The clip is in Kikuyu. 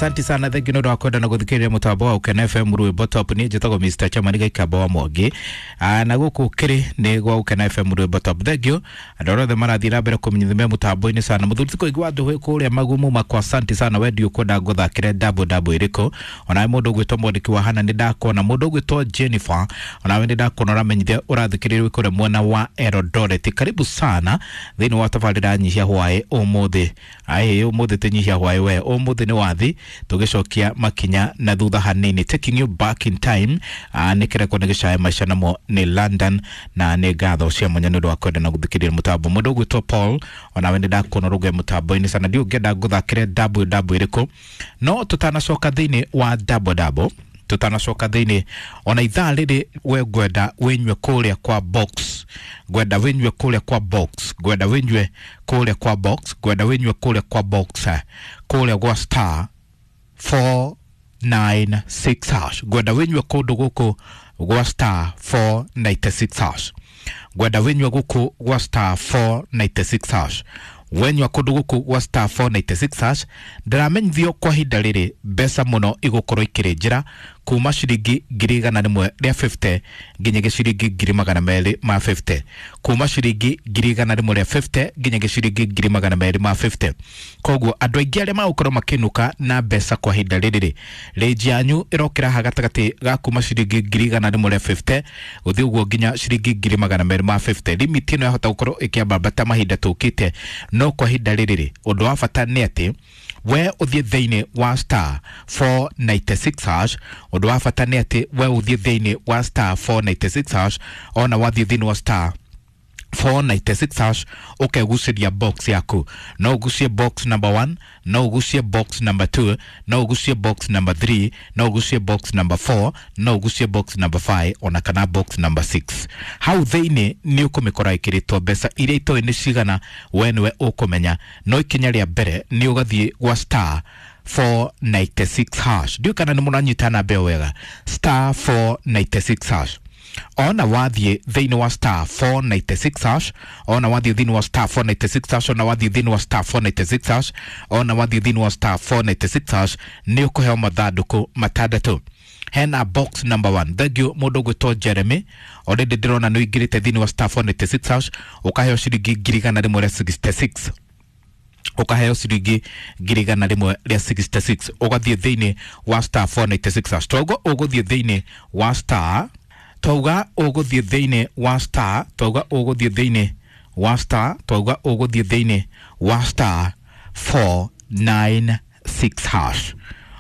Asante sana, thank you nä wa kwenda na gå mutambo wa Ukena FM rwimbo top. Niä njätagwo Mr Chairman Gaikamba wa Mwangi. Na gå kä rä nä gwa Ukena FM rwimbo top. Thank you andå arä othe marathiä na mbere kå menyithia mutambo-inä sana. Må thuri ti kå igua andå kå rä a magumu makwa, asante sana. Wendi ũkwenda ngũthakĩre double double ĩrĩkũ? Onawe mũndũ ũgwĩtwo mwandĩki wa hana nĩ ndakuona, mũndũ ũgwĩtwo Jennifer onawe nĩ ndakuona ũramenyithia ũrathikĩrĩria wĩ kũrĩa mwena wa Eldoret. Karibu sana thĩinĩ wa tabarĩra nyihia hwaĩ ũmũthĩ. Aĩ ũmũthĩ ti nyihia hwaĩ we, ũmũthĩ nĩ wathi tũgĩcokia makinya na thutha hanini, taking you back in time. Nĩ kĩreko nĩ gĩcae maica namo nĩ London na nĩ ngatho cia mwanya nĩ ũndũ wa kwenda na gũthikĩrĩria mũtambo. Mũndũ ũgwĩtwo Paul onawe nĩ ndakuona rũge mũtambo-inĩ sana. Ndiũ ngĩenda ngũthakĩre double double ĩrĩkũ, no tũtanacoka thĩinĩ wa double double, tutanacoka thĩinĩ ona ithaa rĩrĩ, we ngwenda wĩnyue kũrĩa kwa box, ngwenda wĩnyue kũrĩa kwa box, ngwenda wĩnyue kũrĩa kwa box, ngwenda wĩnyue kũrĩa kwa box, kũrĩa gwa star 496 hash. Ngwenda wĩnyue kũndũ gũkũ gwa star 496 hash. Ngwenda wĩnyue gũkũ gwa star 496 hash. Wenyua kũndũ gũkũ gwa star 496 hash, ndĩramenyithio kwa ihinda rĩrĩ mbeca mũno igũkorwo ikĩrĩ njĩra kuma ciringi 150,000 nginyagia ciringi 250,000, kuma ciringi 150,000 nginyagia ciringi 250,000. Koguo andũ aingĩ arĩa magũkorwo makĩnũka na mbeca kwa ihinda rĩrĩ rĩ, rĩnji yanyu ĩrokĩra ha gatagatĩ ga kuma ciringi 150,000 gũthiĩ ũguo nginya ciringi 250,000. Limit ĩno yahota gũkorwo ĩkĩambambata mahinda tũkĩte, no kwa ihinda rĩrĩ rĩ, ũndũ wa bata nĩ atĩ we ũthiĩ thĩinĩ wa star 496 hash. Ũndũ wa bata nĩ atĩ we ũthiĩ thĩinĩ wa star 496 hash. Ona wathiĩ thĩinĩ wa star 496 hash, ũkegucĩria box yaku. No ũgucie box number 1, no ũgucie box number 2, no ũgucie box number 3, no ũgucie box number 4, no ũgucie box number 5 ona kana box number 6. Hau thĩinĩ nĩ ũkũmĩkora ĩkĩrĩtwo mbeca iria itoĩ nĩ cigana, we nĩwe ũkũmenya. No ikinya rĩa mbere nĩ ũgathiĩ gwa star 496 hash. Ndiũĩ kana nĩ mũranyita namba ĩyo wega, star 496 hash. Ona wathiĩ thĩinĩ wa star 496 hash, ona wathiĩ thĩinĩ wa star 496 hash, ona wathiĩ thĩinĩ wa star 496 hash, ona wathiĩ thĩinĩ wa star 496 hash, nĩ ũkũheo mathandũkũ matandatũ. Hena box number 1. Thank you mũndũ ũgwĩtwo Jeremy, already ndĩrona nĩ ũingĩrĩte thĩinĩ wa star 496 hash, ũkaheo ciringi 166,000, ukaheo ciringi 166,000 ũgathiĩ thĩinĩ wa star 496 hash. Twauga ũgũthiĩ thĩinĩ wa star, twauga ũgũthiĩ thĩinĩ wa star, twauga ũgũthiĩ thĩinĩ wa star, twauga ũgũthiĩ thĩinĩ wa star 496 hash.